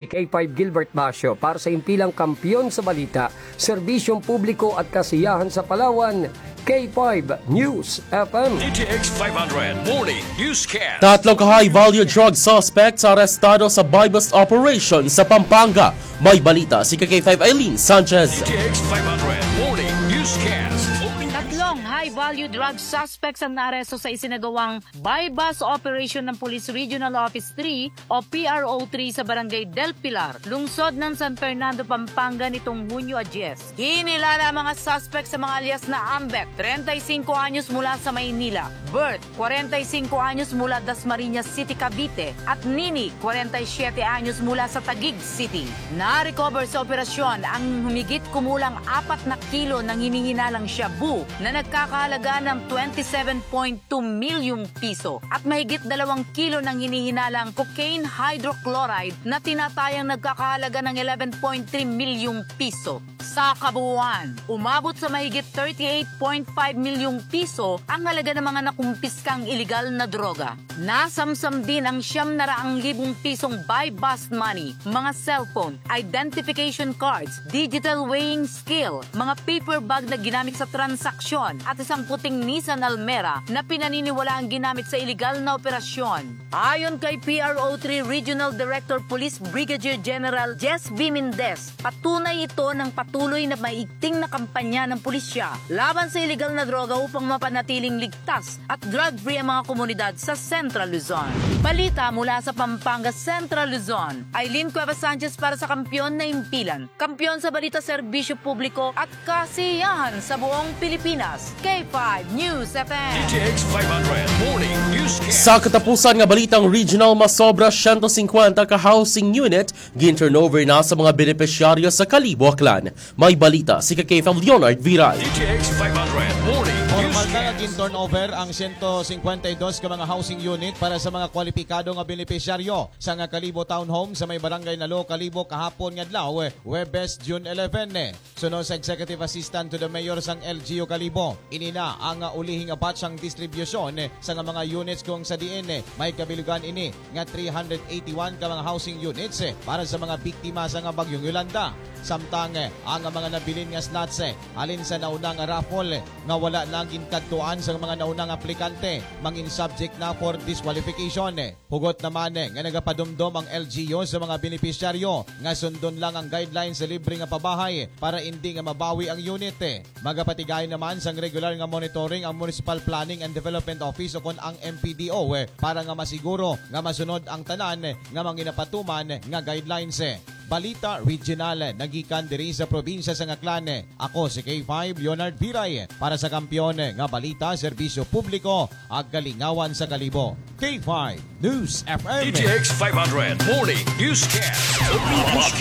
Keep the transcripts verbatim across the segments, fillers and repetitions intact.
K five Gilbert Basyo para sa impilang kampiyon sa balita, serbisyong publiko at kasiyahan sa Palawan, K five News F M. D T X five hundred Morning Newscast. Tatlong ka high-value drug suspects arestado sa buy-bust operation sa Pampanga. May balita si K five Eileen Sanchez. D T X five hundred Morning Newscast. Tatlong high-value drug suspects ang naaresto sa isinagawang buy-bust operation ng Police Regional Office three o P R O three sa Barangay Del Pilar, lungsod ng San Fernando, Pampanga nitong Hunyo a diyes. Kinilala ang mga suspect sa mga alias na Ambet, treinta y cinco anyos mula sa Maynila, Bert, cuarenta y cinco anyos mula Dasmariñas City, Cavite, at Nini, cuarenta y siete anyos mula sa Taguig City. Na-recover sa operasyon ang humigit kumulang apat na kilo ng hinihinalang shabu na nagkakahalaga ng twenty-seven point two milyong piso at mahigit dalawang kilo ng hinihinalang cocaine hydrochloride na tinatayang nagkakahalaga ng eleven point three milyong piso. Sa kabuuan, umabot sa mahigit thirty-eight point five milyong piso ang halaga ng mga nakumpiskang iligal na droga. Nasamsam din ang siyam na raang libong pisong buy-bust money, mga cellphone, identification cards, digital weighing scale, mga paper bag na ginamit sa transaksyon, at isang puting Nissan Almera na pinaniniwalaang ginamit sa iligal na operasyon. Ayon kay P R O three Regional Director Police Brigadier General Jess V. Mendez, patunay ito ng patuloy na maigting na kampanya ng pulisya laban sa iligal na droga upang mapanatiling ligtas at drug-free ang mga komunidad sa Central Luzon. Balita mula sa Pampanga, Central Luzon. Eileen Cuevas Sanchez para sa Kampiyon na Impilan. Kampiyon sa balita, serbisyo publiko at kasiyahan sa buong Pilipinas. K five News F M. D T X five hundred Morning Newscast. Sa katapusan nga balitang regional, masobra siyento singkwenta ka housing unit gin-turnover na sa mga benepisyaryo sa Kalibo, Aklan. May balita si K five Leonard Viral. D T X five hundred Morning Formal na nga Newscast. gin-turnover ang siyento singkwenta y dos ka mga housing unit para sa mga kwalipikado nga benepisyaryo sa nga Kalibo Townhome sa may Barangay Nalo, Kalibo, kahapon nga adlaw, Huwebes, June eleven. Suno sa Executive Assistant to the Mayor sang L G U Kalibo, ini na ang, ah, ulihing batch sang distribusyon, eh, sa nga mga units kung sa diin, eh, may kabilugan ini nga three hundred eighty-one ka mga housing units, eh, para sa mga biktima sa nga Bagyong Yolanda. Samtang, eh, ang mga nabilin nga slots, eh, halin sa nauna nga raffle, eh, nga wala na ginkadtuan sa mga naunang aplikante, mangin subject na for disqualification, eh. Hugot naman, eh, nga nagapadumdom ang L G U sa mga benepisyaryo nga sundon lang ang guidelines sa libre nga pabahay para indi nga mabawi ang unit, eh. Magapatigay naman sang regular nga monitoring ang Municipal Planning and Development Office o kon ang M P D O, eh, para nga masiguro nga masunod ang tanan, eh, nga manginapatuman nga guidelines, eh. Balita regional, eh, nagikan diri sa probinsya sang Aklan, eh. Ako si K five Leonard Viray, eh, para sa Kampiyon, eh, nga Balita, Serbisyo Publiko, ag Kalingawan sa Kalibo. K five News F M. D T X five hundred Morning Newscast.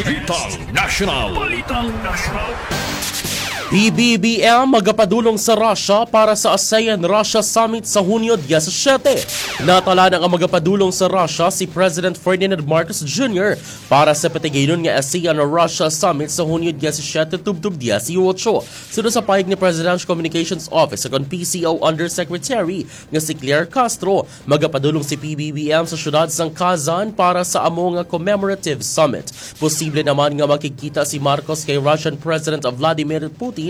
Balitang National. Balitang National. P B B M magapadulong sa Russia para sa ASEAN-Russia Summit sa Hunyo diyasisiete. Natala na nga magapadulong sa Russia si President Ferdinand Marcos Junior para sa patigaynon nga ASEAN-Russia Summit sa Hunyo diyasisiete tubtob diyasiyotso. Suno sa pahayag ni Presidential Communications Office o kon P C O Undersecretary nga si Claire Castro, magapadulong si P B B M sa siyudad sang Kazan para sa amo nga commemorative summit. Posible naman nga makigkita si Marcos kay Russian President Vladimir Putin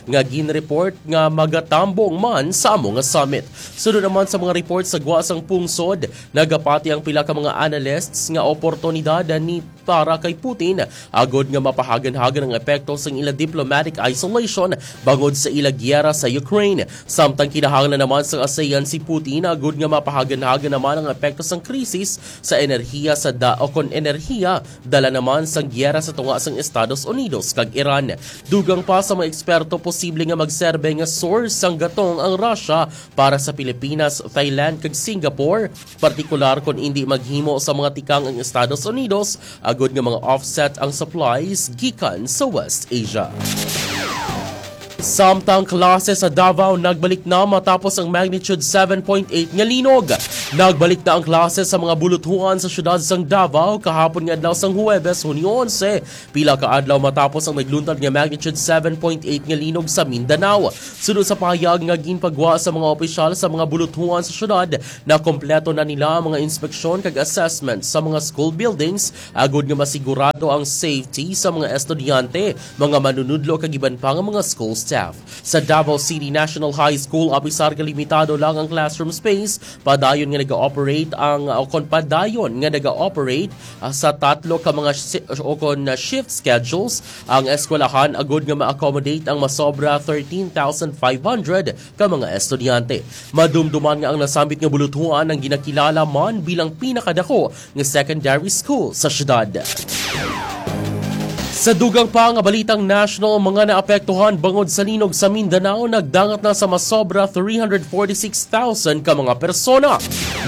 nga gin-report nga magatambong man sa amo nga summit. Sunod naman sa mga report sa gwa sang pungsod, nagapati ang pila ka mga analysts nga oportunidad ni para kay Putin agod nga mapahagan-hagan ang epekto sang ila diplomatic isolation bangod sa ila giyera sa Ukraine. Samtang kinahanglan naman sang ASEAN si Putin agud nga mapahagan-hagan naman ang epekto sang krisis sa enerhiya sa da o kon enerhiya dala naman sang giyera sa tunga sang Estados Unidos kag Iran. Dugang pa sa mga eksperto, posible nga magserbe nga source sang gatong ang Russia para sa Pilipinas, Thailand kag Singapore, partikular kon indi maghimo sa mga tikang ang Estados Unidos agud nga mga offset ang supplies gikan sa West Asia. Samtang klase sa Davao nagbalik na matapos ang magnitude seven point eight nga linog. Nagbalik na ang klase sa mga buluthuan sa siyudad sang Davao kahapon nga adlaw sang Huwebes, Hunyo onse, pila ka adlaw matapos ang nagluntad nga magnitude seven point eight nga linog sa Mindanao. Suno sa pahayag nga ginpagwa sa mga opisyal sa mga buluthuan sa siyudad, nakompleto na nila ang mga inspeksyon kag assessment sa mga school buildings agud nga masigurado ang safety sa mga estudyante, mga manunudlo kag iban pa nga mga school staff. Sa Davao City National High School, apisar nga limitado lang ang classroom space, padayon nga nag-ooperate ang, o kon padayon nga nag-ooperate, ah, sa tatlo ka mga si-, o kon, ah, shift schedules ang eskwelahan agud nga ma-accommodate ang masobra thirteen thousand five hundred ka mga estudyante. Madumduman nga ang nasambit nga buluthuan ang ginakilala man bilang pinakadako nga secondary school sa siyudad. Sa dugang pa nga balitang national, mga naapektuhan bangod sa linog sa Mindanao nagdangat na sa masobra three hundred forty-six thousand ka mga persona.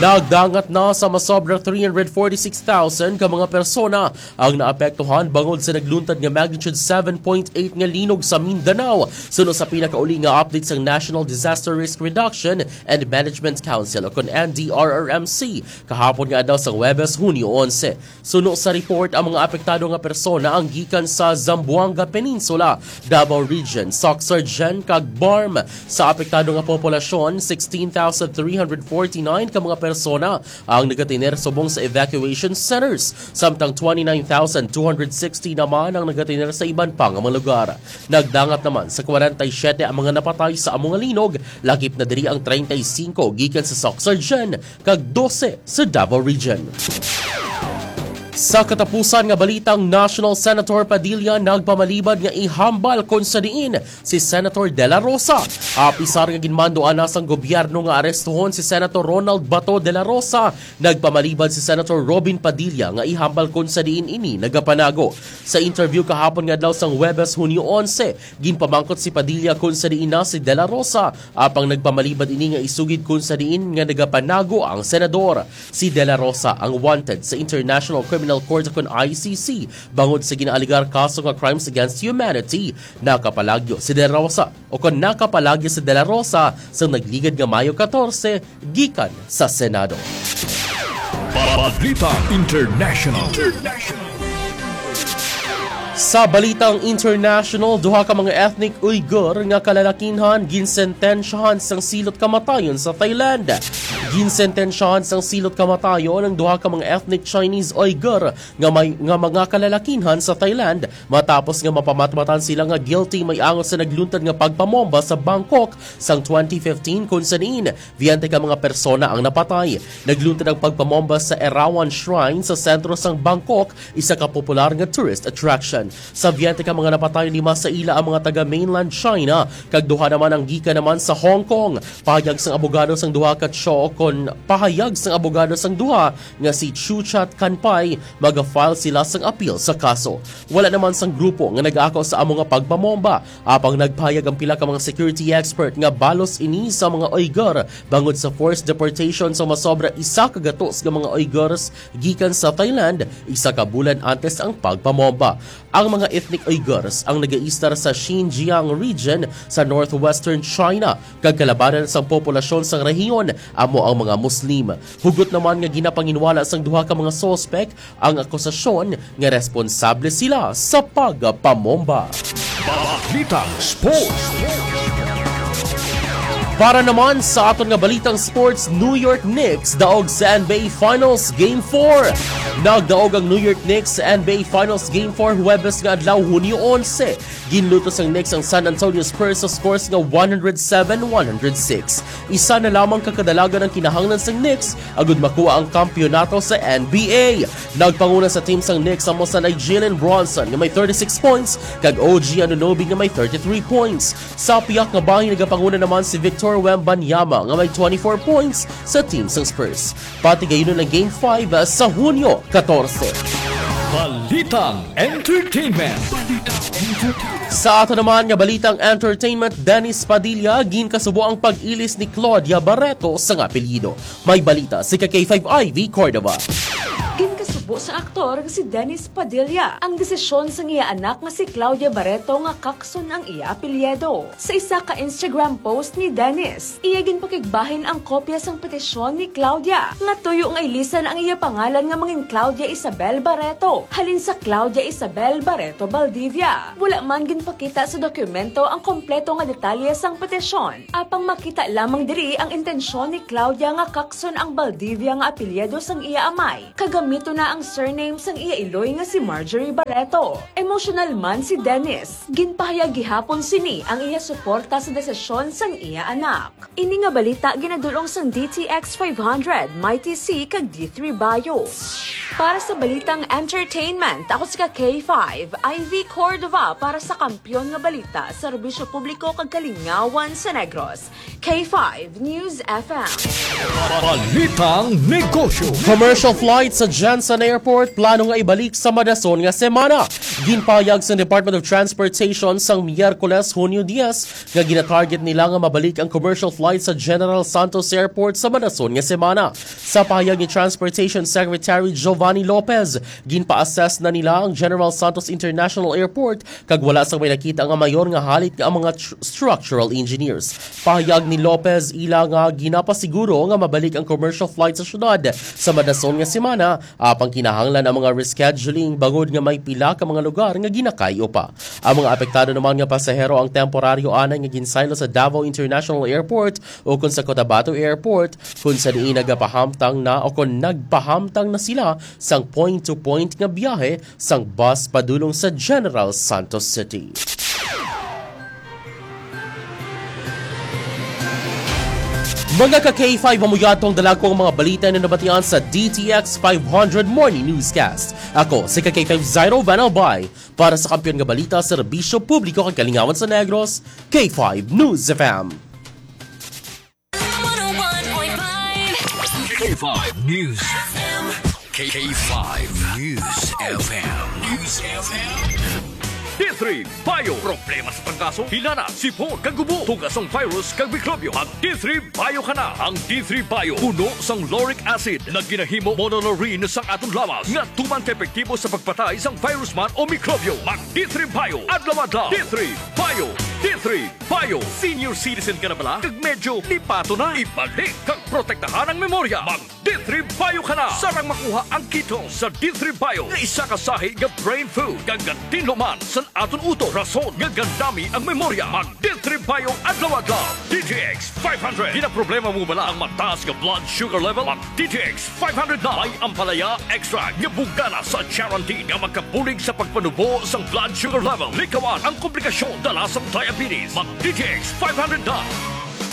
Nagdangat na sa masobra three hundred forty-six thousand ka mga persona ang naapektuhan bangod sa nagluntad nga magnitude seven point eight nga linog sa Mindanao, suno sa pinakauli nga update sang National Disaster Risk Reduction and Management Council o kon N D R R M C kahapon nga adlaw sa Huwebes, Hunyo onse. Suno sa report, ang mga apektado nga persona ang gikan sa Zamboanga Peninsula, Davao Region, Soccsksargen, kag BARMM. Sa apektado nga populasyon, sixteen thousand three hundred forty-nine ka mga persona ang nagatener subong sa evacuation centers, samtang twenty-nine thousand two hundred sixty naman ang nagatener sa iban pa nga mga lugar. Nagdangat naman sa kwarenta y siyete ang mga napatay sa amo nga linog, lakip na diri ang treinta y cinco gikan sa Soccsksargen kag dose sa Davao Region. Sa katapusan nga balitang, National Senator Padilla nagpamalibad nga ihambal kon sa diin si Senator De La Rosa. Apisar nga ginmanduan na sang gobyerno nga arestuhon si Senator Ronald Bato de la Rosa, nagpamalibad si Senator Robin Padilla nga ihambal kon sa diin ini nagapanago. Sa interview kahapon nga adlaw sang Huwebes, Hunyo onse, ginpamangkot si Padilla kon sa diin na si De La Rosa, apang nagpamalibad ini nga isugid kon sa diin nga nagapanago ang senador. Si De La Rosa ang wanted sa International Criminal Court o kon I C C bangod sa ginaalegar kaso nga crimes against humanity. Nakapalagyo si De La Rosa, o kon nakapalagyo si De La Rosa sa nagligad nga Mayo katorse gikan sa Senado. Balita International. Sa balitang international, duha ka mga ethnic Uyghur nga kalalakinhan ginsentensyahan sang silot kamatayon sa Thailand. Ginsentensyahan sang silot kamatayon ang duha ka mga ethnic Chinese Uyghur nga may, nga mga kalalakinhan sa Thailand matapos nga mapamatmatan sila nga guilty may angot sa nagluntad nga pagpamomba sa Bangkok sang twenty fifteen, kun sa diin biyente ka mga persona ang napatay. Nagluntad ang pagpamomba sa Erawan Shrine sa sentro sang Bangkok, isa ka popular nga tourist attraction. Sa biyente ka mga napatay, lima sa ila ang mga taga mainland China, kag duha naman ang gikan naman sa Hong Kong. Pahayag sang abogado sang duha ka Cho, kon pahayag sang abogado sang duha nga si Chuchat Kanpai, maga-file sila sang appeal sa kaso. Wala naman sang grupo nga nag-ako sa amo nga pagpamomba, apang nagpahayag ang pila ka mga security expert nga balos ini sa mga Uyghur bangod sa forced deportation sa masobra isa ka gatos nga mga Uyghurs gikan sa Thailand, isa ka bulan antes ang pagpamomba. Ang mga ethnic Uyghurs ang nagaistar sa Xinjiang region sa northwestern China, kag kalabanan sang populasyon sang rehiyon amo ang mga Muslim. Hugot naman nga ginapanginwala sang duha ka mga suspek ang akusasyon nga responsable sila sa pagpamomba. Balitang Sports. Para naman sa aton nga balitang sports, New York Knicks daog sa N B A Finals Game four. Nagdaog ang New York Knicks sa N B A Finals Game four Huwebes nga adlaw, Hunyo onse. Ginluto sang Knicks ang San Antonio Spurs sa scores nga one hundred seven one hundred six. Isa na lamang ka kadalagan ang kinahanglan sang Knicks agud makuha ang kampiyonato sa N B A. Nagpanguna sa team sang Knicks amo sanay Jalen Brunson nga may thirty-six points kag O G Anunoby nga may thirty-three points. Sa piyak nga bahin, nagapanguna naman si Victor Wembanyama nga may twenty-four points sa team sang Spurs. Patigayunon ang Game five sa Hunyo katorse. Balitang Entertainment. Sa ato naman nga balitang entertainment, Dennis Padilla, ginkasubo ang pag-ilis ni Claudia Barreto sang apelyido. May balita si ka K five Ivy Cordova. Ginkasubo Busa aktor nga si Dennis Padilla ang desisyon sang iya anak nga si Claudia Barreto nga kakson ang iya apelyido. Sa isa ka Instagram post ni Dennis, iya ginpakigbahin ang kopya sang petisyon ni Claudia nga tuyo nga ilisan ang iya pangalan nga mangin Claudia Isabel Barreto halin sa Claudia Isabel Barreto Baldivia. Wala man ginpakita sa dokumento ang kompleto nga detalye sang petisyon, apang makita lamang diri ang intensyon ni Claudia nga kakson ang Baldivia nga apelyido sang iya amay. Kagamito na ang surname sang iya iloy nga si Marjorie Barreto. Emosyonal man si Dennis. Ginpahayag gihapon sini ang iya suporta sa desisyon sang iya anak. Ini nga balita ginadul-ong sang D T X five hundred, Mighty C, kag D three Bio. Para sa balitang entertainment, ako si ka K five, Ivy Cordova, para sa Kampiyon nga Balita, Serbisyo Publiko kag Kalingawan sa Negros. K five News F M. Balitang Negosyo. Commercial flight sa Jensen Airport plano nga ibalik sa madason nga semana. Ginpahayag sa Department of Transportation sang Miyerkules, Hunyo diyes, nga ginatarget nila nga mabalik ang commercial flight sa General Santos Airport sa madason nga semana. Sa pahayag ni Transportation Secretary Giovanni Lopez, ginpa-assess na nila ang General Santos International Airport kag wala sang may nakita nga mayor nga halit nga ang mga tr-, structural engineers. Pahayag ni Lopez, ila nga ginapasiguro nga mabalik ang commercial flight sa syudad sa madason nga semana, apang kinahanglan ang mga rescheduling bangod nga may pila ka mga lugar nga ginakay-o pa. Ang mga apektado naman nga pasahero ang temporaryo anay nga ginsaylo sa Davao International Airport ukon sa Cotabato Airport, kung sa diin nagapahamtang na o kung nagpahamtang na sila sang point-to-point nga biyahe sang bus padulong sa General Santos City. Mga ka K five, amo yadto ang dalagko nga mga balita na nabatian sa D T X five hundred Morning Newscast. Ako si ka K five Zairo Van Albay para sa Kampiyon nga Balita, Serbisyo Publiko kag Kalingawan sa Negros, K five News F M. One oh one point five. K five News F M. K five News F M. News F M. D three Bio. Problema sa trangkaso, hilana, sipon, kag ubo, tugas sang virus kag mikrobyo. Mag D three Bio ka na. Ang D three Bio puno sang lauric acid nga ginahimo monolaurin sang aton lawas nga tuman ka epektibo sa pagpatay sang virus man o mikrobyo. Mag D three Bio adlaw-adlaw. D three Bio. D three Bio. Senior citizen ka na bala? Kag medyo lipato na? Ibalik kag protektahan ang memorya. Mag D three Bio ka na. Sarang makuha ang ketone sa D three Bio nga isa ka sahi nga brain food kag gatinlo man sa aton utok, rason nga gandami ang memorya. Mag D three Bio adlaw-adlaw. D T X five hundred. Ginaproblema mo bala ang mataas nga blood sugar level? Mag D T X five hundred na. May ampalaya extract nga bugana sa charantin nga makabulig sa pagpanubo sang blood sugar level. Likawan ang komplikasyon dala sang diabetes. Mag D T X five hundred na.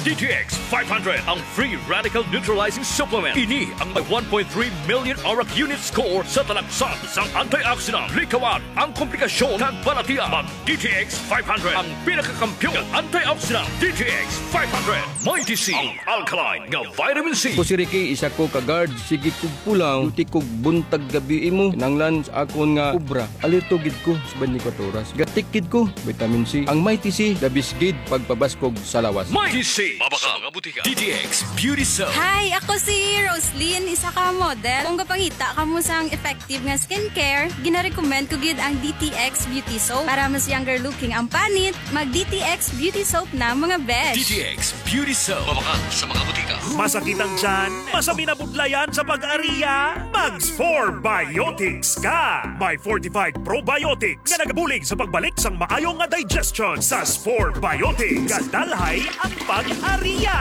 D T X five hundred, ang free radical neutralizing supplement. Ini ang may one point three million arak unit score sa talaksan sang antioxidant. Likawan ang komplikasyon kag balatian. Mag D T X five hundred, ang pinakakampiyon nga antioxidant. D T X five hundred, Mighty C, ang alkaline nga vitamin C. Ako si Ricky, isa ko ka guard. Sige kog pulaw, duty kog buntag gabi imo. Kinahanglan sa akon nga obra, alerto gid ko sa twenty-four oras. Gatik gid ko, vitamin C. Ang Mighty C, the best gid pagpabaskog sa lawas. Mighty C, mabakal nga butika. D T X Beauty Soap. Hi, ako si Roslyn, isa ka model. Kung gapangita kamo sang effective nga skincare, ginarecommend ko gid ang D T X Beauty Soap para mas younger looking ang panit. Mag D T X Beauty Soap na, mga besh. D T X Beauty Soap. Mabakal sa mga butika. Masakit ang tiyan? Masabi na budlayan sa pag-ariya? Mag Spore Biotics ka! May fortified probiotics nga nagabulig sa pagbalik sang maayo nga digestion. Sa Spore Biotics, gadalhay ang pag-ariya.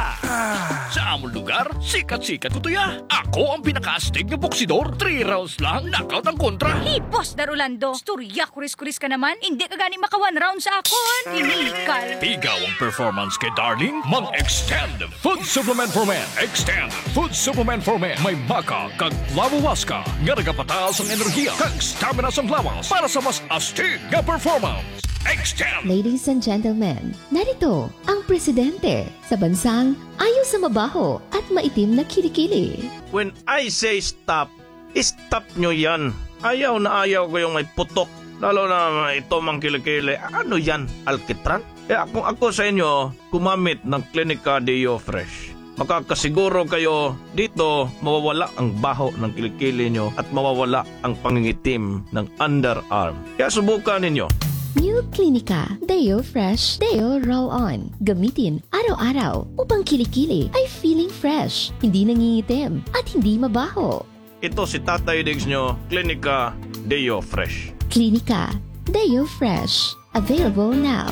Sa amon lugar, sikat-sikat ko to ya. Ako ang pinakaastig nga boksidor. Three rounds lang, knockout ang kontra. Hipos, Dar Orlando. Storya, kuris-kuris ka naman. Hindi ka gani maka one round sa akon. Inikal. Pigaw ang performance kay Darling. Mag-Extend Food Supplement for Men. Extend Food Supplement for Men. May maca kag flavowaska nga nagapataas ang enerhiya kag stamina sang lawas para sa mas astig nga performance. Extend! Ladies and gentlemen, narito ang presidente sa bansang ayaw sa mabaho at maitim na kilikili. When I say stop, stop nyo yan. Ayaw na ayaw ko yung may putok. Lalo na ito mang kilikili. Ano yan? Alkitran? Kaya kung ako sa inyo, gumamit ng Clinica Deo Fresh. Makakasiguro kayo dito mawawala ang baho ng kilikili nyo at mawawala ang pangingitim ng underarm. Kaya subukan ninyo. New Clinica Deo Fresh Deo Roll On. Gamitin araw-araw upang kilikili ay feeling fresh, hindi nangingitim, at hindi mabaho. Ito si Tatay Diggs nyo, Klinika Deo Fresh. Klinika Deo Fresh. Available now.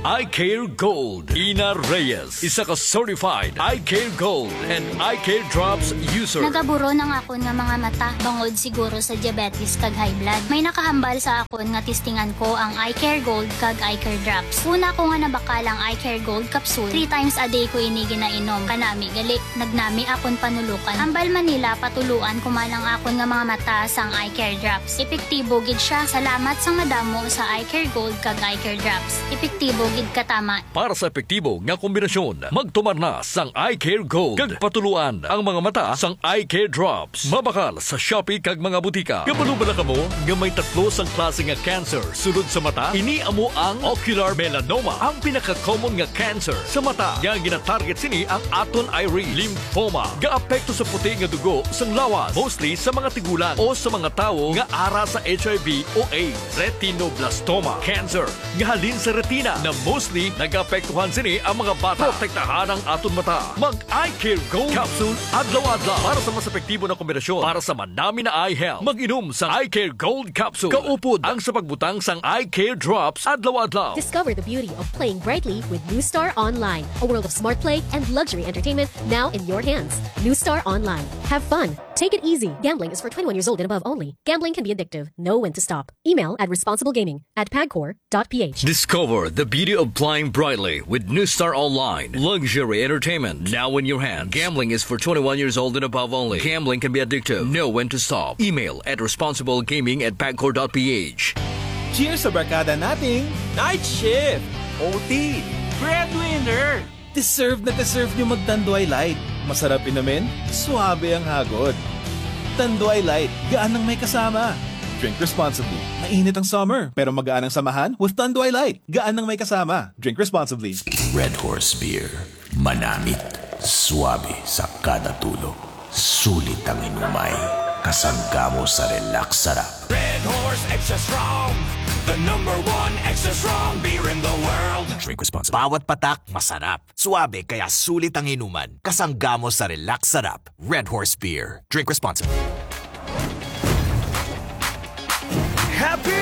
Eye Care Gold. Ina Reyes, isa ka certified Eye Care Gold and Eye Care Drops user. Nagaburon ang akon nga mga mata bangod siguro sa diabetes kag high blood. May nakahambal sa akon nga testingan ko ang Eye Care Gold kag Eye Care Drops. Una ko nga nabakal ang Eye Care Gold capsule. Three times a day ko ini ginainom. Kanami gali, nagnami akon panulukan. Hambal man nila patuluan ko man ang akon nga mga mata sang Eye Care Drops. Epektibo gid siya. Salamat sang madamo sa Eye Care Gold kag Eye Care Drops. Epektibo gid katama. Para sa epektibo nga kombinasyon, magtumar na sang Eye Care Gold kag patuluan ang mga mata sang Eye Care Drops. Mabakal sa Shopee kag mga butika. Kabalo bala kamo nga may tatlo sang klase nga cancer sulod sa mata? Ini amo ang ocular melanoma, ang pinaka-common nga cancer sa mata nga ginatarget sini ang aton iris, lymphoma. Gaapekto sa puti nga dugo sang lawas, mostly sa mga tigulang o sa mga tawo nga ara sa H I V o AIDS. Retinoblastoma cancer nga halin sa retina na mostly nagaapektuhan sini ang mga bata. Protektahan ang aton mata. Mag Eye Care Gold Capsule adlaw-adlaw para sa mas epektibo na kombinasyon para sa manami na eye health. Mag-inom sa Eye Care Gold Capsule kaupod ang sa pagbutang sang Eye Care Drops adlaw-adlaw. Discover the beauty of playing brightly with New Star Online, a world of smart play and luxury entertainment now in your hands. New Star Online. Have fun. Take it easy. Gambling is for twenty-one years old and above only. Gambling can be addictive. Know when to stop. Email at responsiblegaming at pagcor dot p h. Discover the beauty of playing brightly with New Star Online. Luxury entertainment now in your hands. Gambling is for twenty-one years old and above only. Gambling can be addictive. Know when to stop. Email at responsiblegaming at pagcor dot p h. Cheers sa barkada nating night shift, O T, breadwinner. Deserve na deserve nyo mag Tanduay Light. Masarap inumin, suabe ang hagod. Tanduay Light, gaan ang may kasama. Drink responsibly. Mainit ang summer, pero magaan ang samahan with Tanduay Light. Gaan ang may kasama. Drink responsibly. Red Horse Beer. Manamit. Suabe sa kada tulo. Sulit ang inumay. Kasangga mo sa relax sarap. Red Horse Extra Strong, the number one extra strong beer in the world. Drink responsibly. Bawat patak, masarap. Suabe, kaya sulit ang inuman. Kasangga mo sa relax sarap. Red Horse Beer. Drink responsibly. Happy!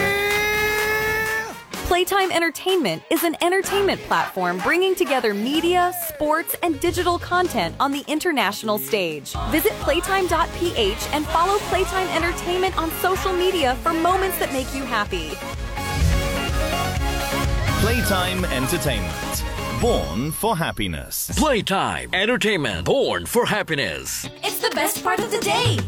Playtime Entertainment is an entertainment platform bringing together media, sports, and digital content on the international stage. Visit playtime dot p h and follow Playtime Entertainment on social media for moments that make you happy. Playtime Entertainment. Born for happiness. Playtime Entertainment. Born for happiness. It's the best part of the day.